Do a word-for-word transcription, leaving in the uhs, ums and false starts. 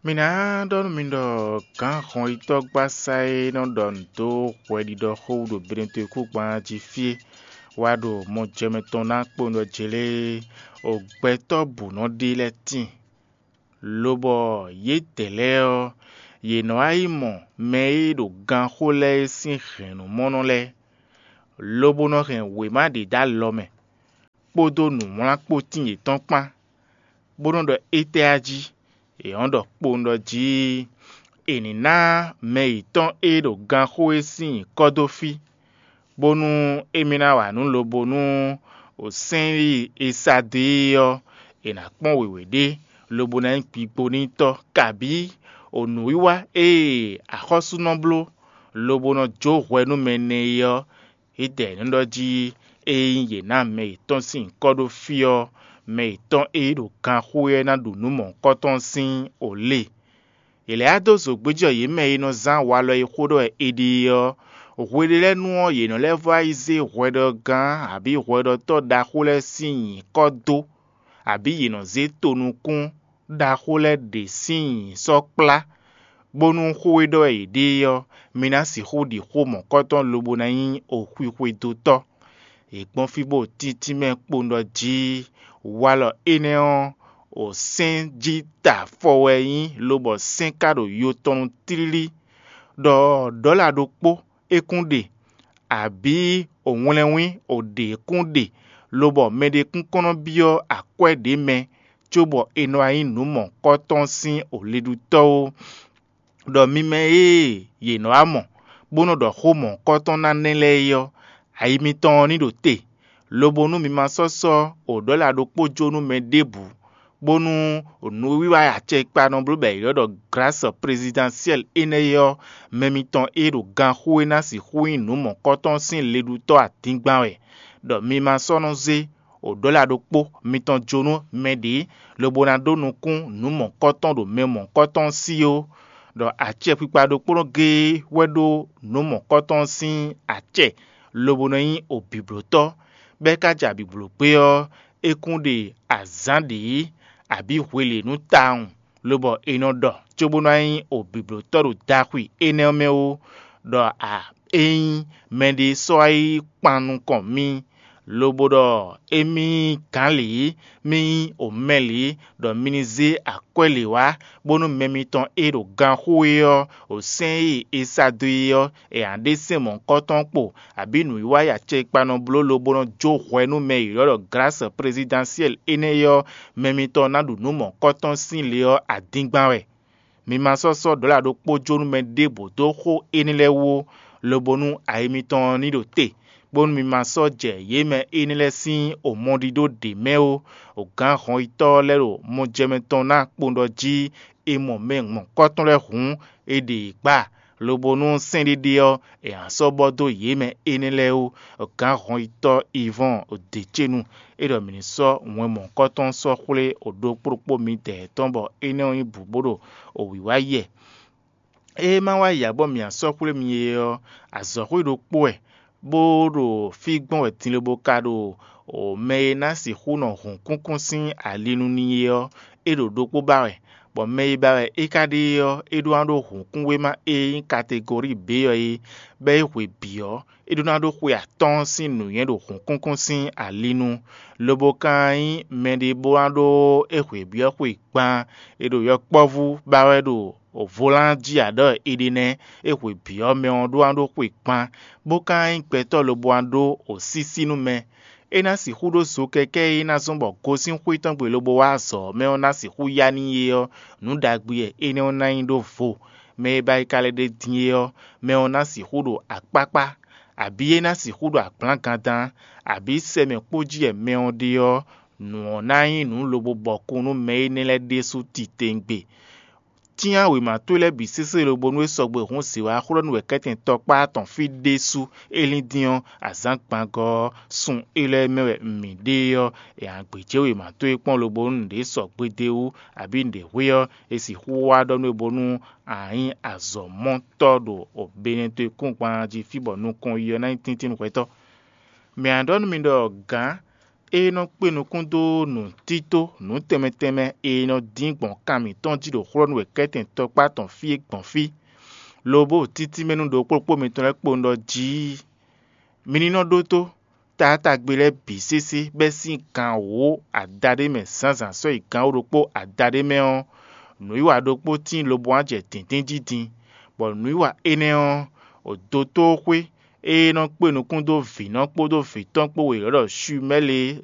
Mi ná ɖɔ nú mi ɖɔ gǎn hɔnyitɔ́gbasá e nɔ ɖɔ nǔ dó hwɛɖiɖɔ xó wú ɖo Benetwekúgban jí fí é wá ɖo mɔjɛmɛ tɔn ná kpo ɖɔ jelé o gbɛtɔ́ bǔ nɔ ɖe lɛ́ɛ tíin, lobɔ yědɛɛ lɛ́ɛ ɔ́, yě nɔ wá yi mɔ mɛ e ɖo ganxó lɛ́ɛ é sín hɛ̌nnumɔnɔ lɛ́ɛ, lobo nɔ hɛn wěma ɖě dó alɔ mɛ, kpódó nǔwlánkpótín yětɔn kpán, bó nɔ́ ɖɔ étɛ́ a jí? È nɔ́ ɖɔ kpowun ɖɔ jí è nǐ ná mɛ yětɔn e ɖo ganxó é sín nyǐkɔ dó fí, bónú émí ná wa nǔ lobo nú sɛ́nɖí e sa dó é ɔ́, è nǎ kpɔ́n wěwé ɖé, lobo ná nyí gbigbo n'i tɔ́, kabǐ o nǔwiwa e axɔ́sú nɔ bló, lobo nɔ jó hwɛ nú mɛ nɛ́ é ɔ́, édɛɛ nǔ ɖɔ jí ényí yě ná mɛ yětɔn sín nyǐkɔ ɖó fí ɔ́, mɛ yětɔn e ɖo ganxó ɔ́ ná ɖu nǔ mɔ̌hunkɔtɔn sín o lé. È lɛ̌ wá dó zǒgbéjɔ yě mɛ e nɔ zán walɔ e xó ɖɔ wɛ è ɖe é ɔ́, hweɖélɛ́nu ɔ́, yě nɔ lɛ́ vɔ́ wá yi zé hwɛɖɔgán abǐ hwɛɖɔtɔ́ ɖaxó lɛ́ɛ sín nyǐkɔ dó, abǐ yě nɔ zé tonukún ɖaxó lɛ́ɛ ɖě sín nyǐ sɔ́ kplá, bónú xó e ɖɔ wɛ yě ɖe é ɔ́, mi ná sixú ɖi xó mɔ̌kɔtɔn lobo ná nyí oxwixwedótɔ́. È gbɔn fí bó tíntín mɛ kpowun ɖɔ jí walɔ énɛ́ ɔ́, o sɛ́n jí ta afɔ wɛ é nyí, lobɔ sɛ́n ka ɖo yo tɔn nu tlílí, ɖɔ ɖɔ̌la ɖokpó é kún ɖe, abǐ o wlɛnwín o ɖě kún ɖe, lobɔ mɛɖé kún kɔn nɔ byɔ́ akwɛ́ ɖě mɛ, cóbɔ è nɔ wá nyí nǔ mɔ̌hunkɔtɔn sín o liɖutɔ́ ó. Ɖɔ mi mɛ e yě nɔ wá mɔ, bó nɔ ɖɔ xó mɔ̌hunkɔtɔn ná nɛ́ lɛ́ɛ é ɔ́, ayi mitɔn ɔ́ ní ɖo te, lobo nú mi ma sɔ́ sɔ́ o ɖɔ̌la ɖokpó jó nú mɛ ɖěbǔ, bónú nǔwiwa e acɛkpa nɔ bló bɔ è ylɔ́ ɖɔ glǎsɔ plezidánsiɛ́l énɛ́ é ɔ́, mɛ mitɔn e ɖo ganxú é ná sixú nyí nǔ mɔ̌kɔtɔn sín liɖutɔ́ adingban wɛ, ɖɔ mi ma sɔ́ nɔ zé o ɖɔ̌la ɖokpó mitɔn jó nú mɛ ɖě, lobo ná ɖó nukún nǔ mɔ̌kɔtɔn ɖo mɛ mɔ̌kɔtɔn sí ó, ɖɔ acɛkpikpa ɖokpónɔ géé wɛ ɖó nǔ mɔ̌kɔtɔn sín acɛ, lobo nɔ nyí o bǐblótɔ́, bɔ é ka ja bǐbló gbé ɔ́, é kún ɖe azǎn ɖě abǐ hwelě nú tawun, lobɔ è nɔ ɖɔ cóbó ná nyí o bǐblótɔ́ ɖo daxwi énɛ́ ɔ́ mɛ ó, ɖɔ a ényí mɛɖé sɔ́ wá yi kpan nukɔn mì, lobo ɖɔ émí nyí gǎnlě, mì nyí omɛlě, ɖɔ mi ní zé akwɛ́ lě wá, bónú mɛ mitɔn e ɖo ganxó é ɔ́, o sɛ́n e è sa dó é ɔ́, è nǎ ɖe sɛ́n mɔ̌hunkɔtɔn kpo, abǐ nǔwiwa e acɛkpa nɔ bló lobo nɔ jó hwɛ nú mɛ e ylɔ́ ɖɔ glǎsɔ plezidánsiɛ́l énɛ́ é ɔ́, mɛ mitɔn ná ɖu nǔ mɔ̌hunkɔtɔn sín le ɔ́ adingban wɛ. Mi ma sɔ́ sɔ́ ɖɔ̌la ɖokpó jó nú mɛ ɖěbǔ dó xó énɛ́ lɛ́ɛ wú ó, lobo nú ayi mitɔn ɔ́ ní ɖo te, bónú mi ma sɔ́ jɛ yě mɛ énɛ́ lɛ́ɛ sín omɔɖíɖó ɖě mɛ ó. Gǎn hɔnyitɔ́ lɛ́ɛ ɖo mɔjɛmɛ tɔn ná kpowun ɖɔ jí è mɔ mɛ mɔ̌hunkɔtɔn lɛ́ɛ hǔn, è ɖe yě gba, lobo nú sɛ́nɖéɖé ɔ́, è nǎ sɔ́ bɔ dó yě mɛ énɛ́ lɛ́ɛ ó. Gǎn hɔnyitɔ́ Ivɔ́ɔn ɖě ce nu, é ɖɔ mǐ ní sɔ́ wɛn mɔ̌hunkɔtɔn sɔ́ xwlé ɖokpó ɖokpó midɛɛ tɔn, bɔ énɛ́ ɔ́ nyí bǔ bó ɖo wǐwá yɛ. Ée má wá yi ǎ bɔ mǐ sɔ́ xwlé mi é ɔ́, azɔ̌xwé ɖokpó wɛ, bó ɖo fí gbɔn wɛ din lobo ka ɖo mɛ e ná sixú nɔ hǔn kúnkún sín ali nu n'i é ɔ́, é ɖo ɖokpó ba wɛ, bɔ mɛ e ba wɛ é ka ɖe é ɔ́, é ɖó ná ɖó hǔnkúnwéma e nyí kategori B ɔ́ é, bɔ é hwe bǐ ɔ́, é ɖó ná ɖó xwe atɔ́ɔ́n sín nǔnywɛ́ ɖo hǔnkúnkún sín ali nu, lobo ka nyí mɛɖé bó ná ɖó é hwe byɔ́ xwe gban, è ɖo yɔkpɔ́vú ba wɛ ɖo volán jí ǎ ɖɔ è ɖe nɛ́, é hwe byɔ́ mɛ ɔ́ ɖó ná ɖó xwe gban, bó ka nyí gbɛtɔ́ lobo ná ɖó osísí nú mɛ. É ná sixú ɖó zo kɛkɛ́ e ná zɔ́n bɔ gosín xwé tɔn gbe lobo wá azɔ̌ ɔ́ mɛ ɔ́ ná sixú ya n'i é ɔ́, nǔ ɖagbe wɛ énɛ́ ɔ́ ná nyí ɖó vo. Mɛ e ba yi ka lɛ́ ɖe din é ɔ́, mɛ ɔ́ ná sixú ɖo akpákpá, abǐ é ná sixú ɖo agblǎngandán, abǐ sɛ mɛ kpó jí wɛ mɛ ɔ́ ɖe ɔ́, nǔ ɔ́ ná nyí nǔ lobo bɔkun nú mɛ énɛ́ lɛ́ɛ ɖésú titewungbe. Cyán wěma towe lɛ́ɛ bǐ sésé lobo nú é sɔgbe hǔn zǐwáxwlɔ́nú wɛ kɛ́tɛn tɔkpá tɔn fí ɖésú é lín dín ɔ́, azǎn gbangɔ ɔ́, sun élɔ́ e mɛ wɛ mǐ ɖe ɔ́, è nǎ gbějé wěma towe kpɔ́n lobo nú nǔɖé sɔgbe d'é wú, abǐ nǔɖé hwe ɔ́, è sixú wá ɖɔ nú we bónú a nyí azɔ̌mɔtɔ́ ɖo Benɛtɔ́ e kúngban jí fí bɔ nukɔn yi ɔ́ ná nyí tíntín hwɛtɔ́. Mǐ ná ɖɔ nú mi ɖɔ gǎn é nɔ kpé nukún dó nǔtító nǔ tɛnmɛ tɛnmɛ e nɔ dín gbɔn kan mǐtɔn jí ɖo xlɔ́ nú wěkɛ́tɛn tɔkpá tɔn fí é gbɔn fí, lobo títí mɛ nú ɖokpókpó mitɔn lɛ́ɛ kpowun ɖɔ jí. Mi ní nɔ ɖótó taátagbe lɛ́ɛ bǐ sésé bɛ́ sín gan wǒ adaɖé mɛ zǎnzǎn sɔ́ yi gan wǒ ɖokpó adaɖé mɛ ɔ́, nǔwiwa ɖokpó tíin lobo wá jɛ dǐndín jí din, bɔ nǔwiwa énɛ́ ɔ́, dotóxwé e nɔ kpé nukún dó vǐnɔ kpódó vǐtɔ́n kpó wěwé ɖɔ Shumɛ́li é